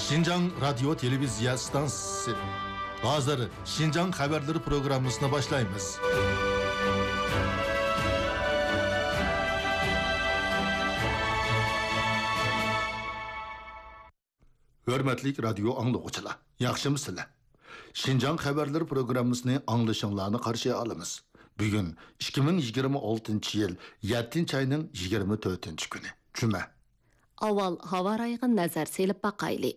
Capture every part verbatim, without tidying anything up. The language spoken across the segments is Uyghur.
شىنجاڭ رادىيو تېلېۋىزىيە ئىستانسىسى. ھازىر شىنجاڭ خەۋەرلىرى پروگراممىسىنى باشلايمىز. ھۆرمەتلىك رادىيو ئاڭلىغۇچىلار، ياخشىمۇسىلەر؟ شىنجاڭ خەۋەرلىرى پروگراممىسىنى ئاڭلىشىڭلارنى قارشى ئالىمىز. بۈگۈن ئىككى مىڭ يىگىرمە ئالتىنچى يىل يەتتىنچى ئاينىڭ يىگىرمە تۆتىنچى كۈنى، جۈمە. ئاۋۋال ھاۋا رايىغا نەزەر سېلىپ باقايلى.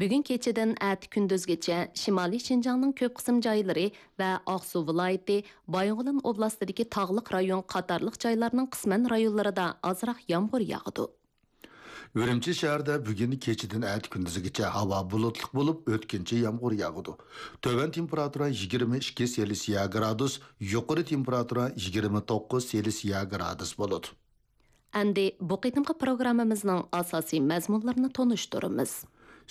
بۈگۈن كېچىدىن ئەتە كۈندۈزگىچە شىمالىي شىنجاڭنىڭ كۆپ قىسىم جايلىرى ۋە ئاقسۇ ۋىلايىتى، بايىنغولىن ئوبلاستىدىكى تاغلىق رايون قاتارلىق جايلارنىڭ قىسمەن رايونلىرىدا ئازراق يامغۇر ياغىدۇ. ئۈرۈمچى شەھىرىدە بۈگۈن كېچىدىن ئەتە كۈندۈزگىچە ھاۋا بۇلۇتلۇق بولۇپ، ئۆتكۈنچى يامغۇر ياغىدۇ. تۆۋەن تېمپېراتۇرا يىگىرمە ئىككى سېلسىيە گرادۇس، يۇقىرى تېمپېراتۇرا يىگىرمە توققۇز سېلسىيە گرادۇس بولىدۇ. ئەمدى بۇ قېتىمقى پروگراممىمىزنىڭ ئاساسىي مەزمۇنلىرىنى تونۇشتۇرىمىز.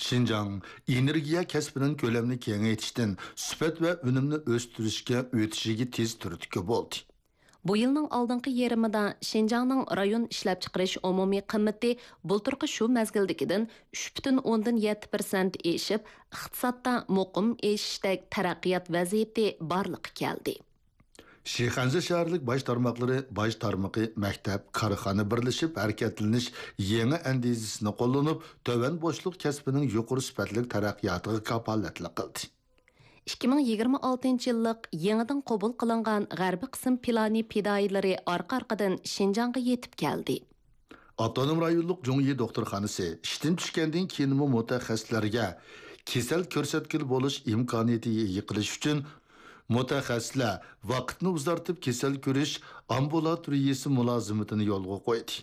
شىنجاڭ ئېنېرگىيە كەسپىنىڭ كۆلەمنى كېڭەيتىشتىن سۈپەت ۋە ئۈنۈمنى ئۆستۈرۈشكە ئۆتۈشىگە تېز تۈرتكە بولدى. بۇ يىلنىڭ ئالدىنقى يېرىمىدا شىنجاڭنىڭ رايون ئىشلەپچىقىرىش ئومۇمىي قىممىتى بۇلتۇرقى شۇ مەزگىلدىكىدىن ئۈچ پۈتۈن ئوندىن يەتتە پىرسەنت ئېشىپ، ئىقتىسادتا مۇقىم ئېشىشتەك تەرەققىيات ۋەزىيىتى بارلىققا كەلدى. شىخەنزە شەھەرلىك باش تارماقلىرى باش تارمىقى مەكتەپ، كارخانا بىرلىشىپ ھەرىكەتلىنىش يېڭى ئەندىزىسىنى قوللىنىپ، تۆۋەن بوشلۇق كەسپىنىڭ يۇقىرى سۈپەتلىك تەرەققىياتىغا كاپالەتلىك قىلدى. ئىككى مىڭ يىگىرمە ئالتىنچى يىللىق يېڭىدىن قوبۇل قىلىنغان غەربىي قىسىم پىلانى پىدائىيلىرى ئارقا-ئارقىدىن شىنجاڭغا يېتىپ كەلدى. ئاپتونوم رايونلۇق جۇڭيى دوختۇرخانىسى ئىشتىن چۈشكەندىن كېيىنمۇ مۇتەخەسسىسلەرگە كېسەل كۆرسەتكىلى بولۇش ئىمكانىيىتىگە ئىگە قىلىش ئۈچۈن، مۇتەخەسسىسلەر ۋاقىتنى ئۇزارتىپ كېسەل كۆرۈش ئامبۇلاتورىيىسى مۇلازىمىتىنى يولغا قويدى.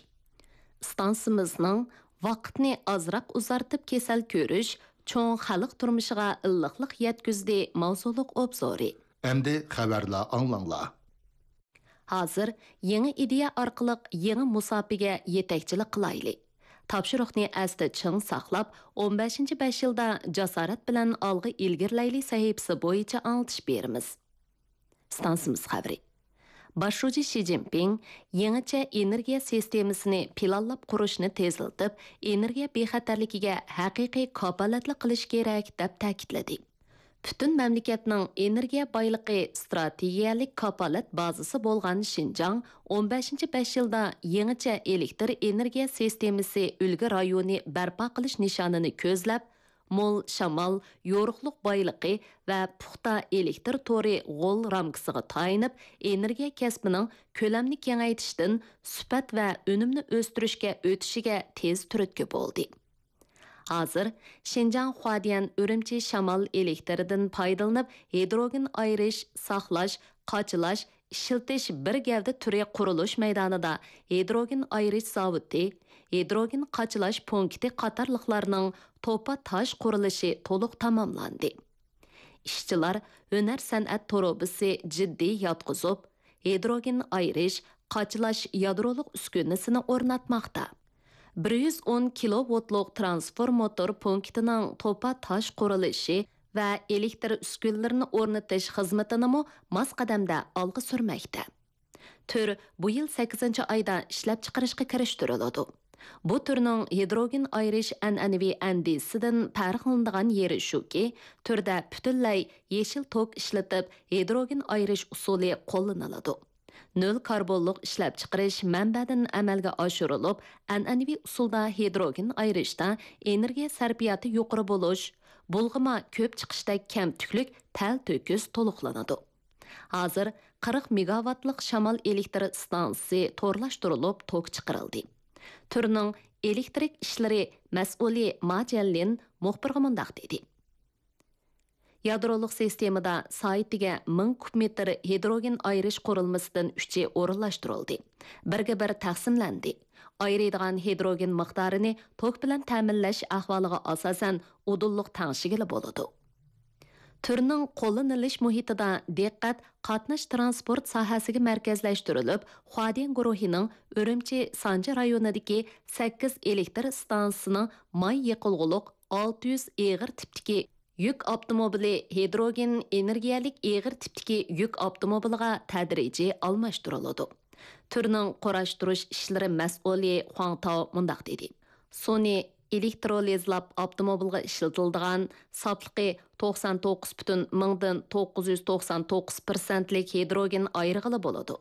ئىستانسىمىزنىڭ ۋاقىتنى ئازراق ئۇزارتىپ كېسەل كۆرۈش چوڭ خەلق تۇرمۇشىغا ئىللىقلىق يەتكۈزدى ماۋزۇلۇق ئوبزورى. ئەمدى خەۋەرلەر ئاڭلاڭلار. ھازىر يېڭى ئىدىيە ئارقىلىق يېڭى مۇساپىگە يېتەكچىلىك قىلايلى. تاپشۇرۇقنى ئەستە چىڭ ساقلاپ، ئون بەشىنچى بەش يىلدا جاسارەت بىلەن ئالغا ئىلگىرىلەيلى سەھىپىسى بويىچە ئاڭلىتىش بېرىمىز. ئىستانسىمىز خەۋىرى. باش شۇجى شى جىنپىڭ يېڭىچە ئېنېرگىيە سىستېمىسىنى پىلانلاپ قۇرۇشنى تېزلىتىپ، ئېنېرگىيە بىخەتەرلىكىگە ھەقىقىي كاپالەتلىك قىلىش كېرەك، دەپ تەكىتلىدى. پۈتۈن مەملىكەتنىڭ ئېنېرگىيە بايلىقى ئىستراتېگىيەلىك كاپالەت بازىسى بولغان شىنجاڭ ئون بەشىنچى بەش يىلدا يېڭىچە ئېلېكتر ئېنېرگىيە سىستېمىسى ئۈلگە رايونى بەرپا قىلىش نىشانىنى كۆزلەپ، مول شامال، يورۇقلۇق بايلىقى ۋە پۇختا ئېلېكتر تورى غول رامكىسىغا تايىنىپ، ئېنېرگىيە كەسپىنىڭ كۆلەمنى كېڭەيتىشتىن سۈپەت ۋە ئۈنۈمنى ئۆستۈرۈشكە ئۆتۈشىگە تېز تۈرتكە بولدى. ھازىر شىنجاڭ خۇادىيەن ئۈرۈمچى شامال ئېلېكتىرىدىن پايدىلىنىپ، ھىدروگېن ئايرىش، ساقلاش، قاچىلاش، ئىشلىتىش بىر گەۋدە تۈرى قۇرۇلۇش مەيدانىدا ھىدروگېن ئايرىش زاۋۇتى، ھىدروگېن قاچىلاش پونكىتى قاتارلىقلارنىڭ توپا تاش قۇرۇلۇشى تولۇق تاماملاندى. ئىشچىلار ھۈنەر سەنئەت تۇرۇبىسى جىددىي ياتقۇزۇپ، ھىدروگېن ئايرىش، قاچىلاش يادرولۇق ئۈسكۈنىسىنى ئورناتماقتا. بىر يۈز ئون كىلوۋولتلۇق ترانسفورماتور پونكىتىنىڭ توپا تاش قۇرۇلۇشى ۋە ئېلېكتر ئۈسكۈنىلىرىنى ئورنىتىش خىزمىتىنىمۇ ماس قەدەمدە ئالغا سۈرمەكتە. تۈر بۇ يىل سەككىزىنچى ئايدا ئىشلەپچىقىرىشقا كىرىشتۈرۈلىدۇ. بۇ تۈرنىڭ ھىدروگېن ئايرىش ئەنئەنىۋى ئەندىزىسىدىن پەرقلىنىدىغان يېرى شۇكى، تۈردە پۈتۈنلەي يېشىل توك ئىشلىتىپ، ھىدروگېن ئايرىش ئۇسۇلى قوللىنىلىدۇ. نۆل كاربونلۇق ئىشلەپچىقىرىش مەنبەدىن ئەمەلگە ئاشۇرۇلۇپ، ئەنئەنىۋى ئۇسۇلدا ھىدروگېن ئايرىشتا ئېنېرگىيە سەرپىياتى يۇقىرى بولۇش، بۇلغىما كۆپ چىقىشتەك كەمتۈكلۈك تەلتۆكۈس تولۇقلىنىدۇ. ھازىر قىرىق مېگاۋاتلىق شامال ئېلېكتر ئىستانسىسى تورلاشتۇرۇلۇپ توك چىقىرىلدى. تۈرنىڭ ئېلېكترىك ئىشلىرى مەسئۇلى ما جيەنلىن مۇخبىرغا مۇنداق دېدى. يادرولۇق سىستېمىدا سائىتىگە مىڭ كۇب مېتىر ھىدروگېن ئايرىش قۇرۇلمىسىدىن ئۈچى ئورۇنلاشتۇرۇلدى. بىرگە بىر تەقسىملەندى. ئايرىيدىغان ھىدروگېن مىقدارىنى توك بىلەن تەمىنلەش ئەھۋالىغا ئاساسەن ئۇدۇللۇق تەڭشىگىلى بولىدۇ. تۈرنىڭ قوللىنىلىش مۇھىتىدا دىققەت قاتناش ترانسپورت ساھەسىگە مەركەزلەشتۈرۈلۈپ، خۇادىيەن گۇرۇھىنىڭ ئۈرۈمچى سانجى رايونىدىكى سەككىز ئېلېكتر ئىستانسىسىنىڭ ماي يېقىلغۇلۇق ئالتە يۈز ئېغىر تىپتىكى يۈك ئاپتوموبىلى، ھىدروگېن ئېنېرگىيەلىك ئېغىر تىپتىكى يۈك ئاپتوموبىلىغا تەدرىجىي ئالماشتۇرۇلىدۇ. تۈرنىڭ قۇراشتۇرۇش ئىشلىرى مەسئۇلى خۇاڭ تاۋ مۇنداق دېدى: سۇنى ئېلېكترولىزلاپ ئاپتوموبىلغا ئىشلىتىلىدىغان ساپلىقى توقسان توققۇز پۈتۈن مىڭدىن توققۇز يۈز توقسان توققۇز پىرسەنتلىك ھىدروگېن ئايرىغىلى بولىدۇ.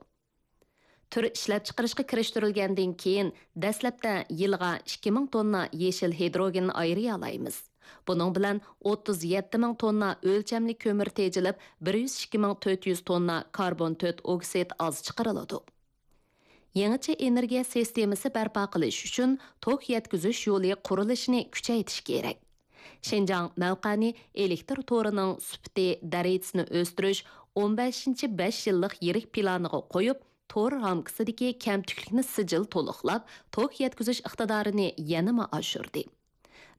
تۈر ئىشلەپچىقىرىشقا كىرىشتۈرۈلگەندىن كېيىن، دەسلەپتە يىلىغا ئىككى مىڭ توننا يېشىل ھىدروگېن ئايرىيالايمىز. بۇنىڭ بىلەن ئوتتۇز يەتتە مىڭ توننا ئۆلچەملىك كۆمۈر تېجىلىپ، بىر يۈز ئىككى مىڭ تۆت يۈز توننا كاربون تۆت ئوكسىد ئاز چىقىرىلىدۇ. يېڭىچە ئېنېرگىيە سىستېمىسى بەرپا قىلىش ئۈچۈن توك يەتكۈزۈش يولى قۇرۇلۇشىنى كۈچەيتىش كېرەك. شىنجاڭ مەۋقەنى ئېلېكتر تورىنىڭ سۈپىتى دەرىجىسىنى ئۆستۈرۈش ئون بەشىنچى بەش يىللىق يىرىك پىلانىغا قويۇپ، تور رامكىسىدىكى كەمتۈكلۈكنى سىجىل تولۇقلاپ، توك يەتكۈزۈش ئىقتىدارىنى يەنىمۇ ئاشۇردى.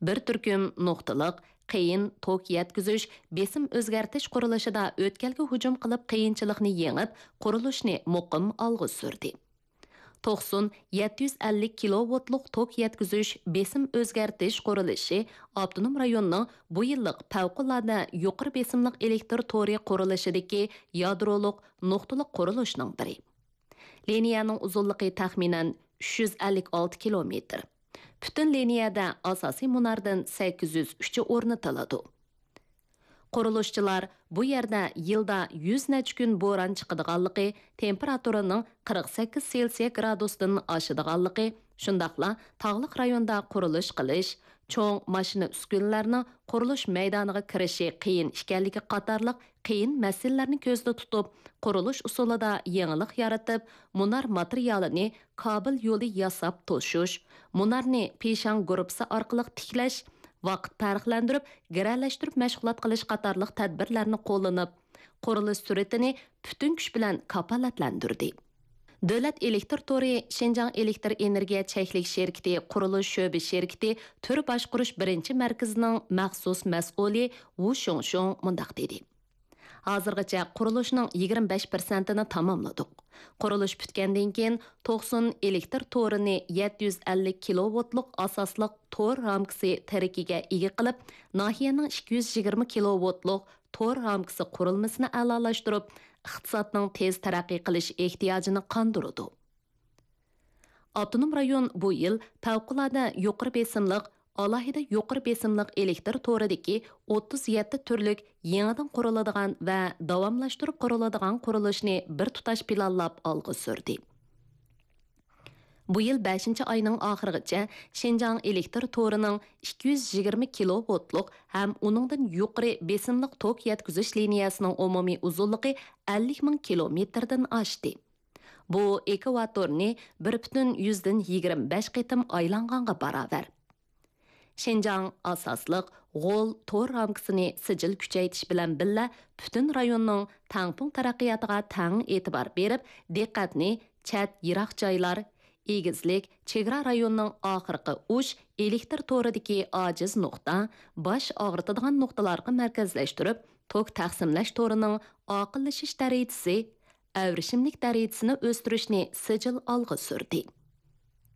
بىر تۈركۈم نۇقتىلىق، قىيىن توك يەتكۈزۈش، بېسىم ئۆزگەرتىش قۇرۇلۇشىدا ئۆتكەلگە ھۇجۇم قىلىپ، قىيىنچىلىقنى يېڭىپ، قۇرۇلۇشنى مۇقىم ئالغا سۈردى. توقسۇن يەتتە يۈز ئەللىك كىلوۋولتلۇق توك يەتكۈزۈش، بېسىم ئۆزگەرتىش قۇرۇلۇشى ئاپتونوم رايوننىڭ بۇ يىللىق پەۋقۇلئاددە يۇقىرى بېسىملىق ئېلېكتر تورى قۇرۇلۇشىدىكى يادرولۇق نۇقتىلىق قۇرۇلۇشنىڭ بىرى. لىنىيەنىڭ ئۇزۇنلۇقى تەخمىنەن ئۈچ يۈز ئەللىك ئالتە كىلومېتىر. پۈتۈن لىنىيەدە ئاساسىي مۇناردىن سەككىز يۈز ئۈچى ئورنىتىلىدۇ. قۇرۇلۇشچىلار بۇ يەردە يىلدا يۈز نەچچە كۈن بوران چىقىدىغانلىقى، تېمپېراتۇرىنىڭ قىرىق سەككىز سېلسىيە گرادۇستىن ئاشىدىغانلىقى، شۇنداقلا تاغلىق رايوندا قۇرۇلۇش قىلىش، چوڭ ماشىنا ئۈسكۈنىلەرنىڭ قۇرۇلۇش مەيدانىغا كىرىشى قىيىن ئىكەنلىكى قاتارلىق قىيىن مەسىلىلەرنى كۆزدە تۇتۇپ، قۇرۇلۇش ئۇسۇلىدا يېڭىلىق يارىتىپ، مۇنار ماتېرىيالىنى كابېل يولى ياساپ توشۇش، مۇنارنى پىشاڭ گۇرۇپپىسى ئارقىلىق تىكلەش، ۋاقىت پەرقلەندۈرۈپ گىرەلەشتۈرۈپ مەشغۇلات قىلىش قاتارلىق تەدبىرلەرنى قوللىنىپ، قۇرۇلۇش سۈرئىتىنى پۈتۈن كۈچ بىلەن كاپالەتلەندۈردى. دۆلەت ئېلېكتر تورى شىنجاڭ ئېلېكتر ئېنېرگىيە چەكلىك شىركىتى قۇرۇلۇش شۆبە شىركىتى تۈر باشقۇرۇش بىرىنچى مەركىزىنىڭ مەخسۇس مەسئۇلى ۋۇ شۇڭشۇڭ مۇنداق دېدى: ھازىرغىچە قۇرۇلۇشنىڭ يىگىرمە بەش پىرسەنتىنى تاماملىدۇق. قۇرۇلۇش پۈتكەندىن كېيىن، توقسۇن ئېلېكتر تورىنى يەتتە يۈز ئەللىك كىلوۋولتلۇق ئاساسلىق تور رامكىسى تىرىكىگە ئىگە قىلىپ، ناھىيەنىڭ ئىككى يۈز يىگىرمە كىلوۋولتلۇق تور رامكىسى قۇرۇلمىسىنى ئەلالاشتۇرۇپ، ئىقتىسادنىڭ تېز تەرەققىي قىلىش ئېھتىياجىنى قاندۇرىدۇ. ئاپتونوم رايون بۇ يىل پەۋقۇلئاددە يۇقىرى بېسىملىق، ئالاھىدە يۇقىرى بېسىملىق ئېلېكتر تورىدىكى ئوتتۇز يەتتە تۈرلۈك يېڭىدىن قۇرۇلىدىغان ۋە داۋاملاشتۇرۇپ قۇرۇلىدىغان قۇرۇلۇشنى بىر تۇتاش پىلانلاپ ئالغا سۈردى. بۇ يىل بەشىنچى ئاينىڭ ئاخىرىغىچە شىنجاڭ ئېلېكتر تورىنىڭ ئىككى يۈز يىگىرمە كىلوۋولتلۇق ھەم ئۇنىڭدىن يۇقىرى بېسىملىق توك يەتكۈزۈش لىنىيەسىنىڭ ئومۇمىي ئۇزۇنلۇقى ئەللىك مىڭ كىلومېتىردىن ئاشتى. بۇ ئېكۋاتورنى بىر پۈتۈن يۈزدىن يىگىرمە بەش قېتىم ئايلانغانغا باراۋەر. شىنجاڭ ئاساسلىق غول تور رامكىسىنى سىجىل كۈچەيتىش بىلەن بىللە، پۈتۈن رايوننىڭ تەڭپۇڭ تەرەققىياتىغا تەڭ ئېتىبار بېرىپ، دىققەتنى چەت، يىراق جايلار، ئېگىزلىك، چېگرا رايوننىڭ ئاخىرقى ئۇچ ئېلېكتر تورىدىكى ئاجىز نۇقتا، باش ئاغرىتىدىغان نۇقتىلارغا مەركەزلەشتۈرۈپ، توك تەقسىملەش تورىنىڭ ئاقىللىشىش دەرىجىسى، ئەۋرىشىملىك دەرىجىسىنى ئۆستۈرۈشنى سىجىل ئالغا سۈردى.